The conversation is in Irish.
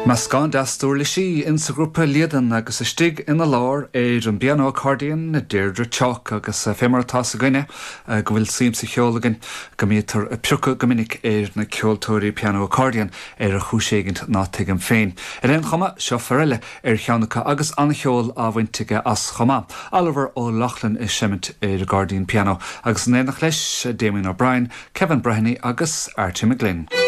Meascán deas d'uirlisí insa ghrúpa Líadan agus istigh ina lár ar an bpianó accordion, Deirdre Chawke agus fé mar atá 's againne go bhfuil suim sa cheol againn go mbítear ag piocadh go minic ar na ceoltóirí pianó accordion ar chúis éigint ná tuigim féin. Ar aon chuma, seo fear eile ar cheann acu agus an-cheol á bhaint aige as chomh maith. Oliver O'Loughlin ag seimint ar an gcairdín pianó agus in éineacht leis, Damien O'Brien, Kevin Breheny agus Archie McGlynn.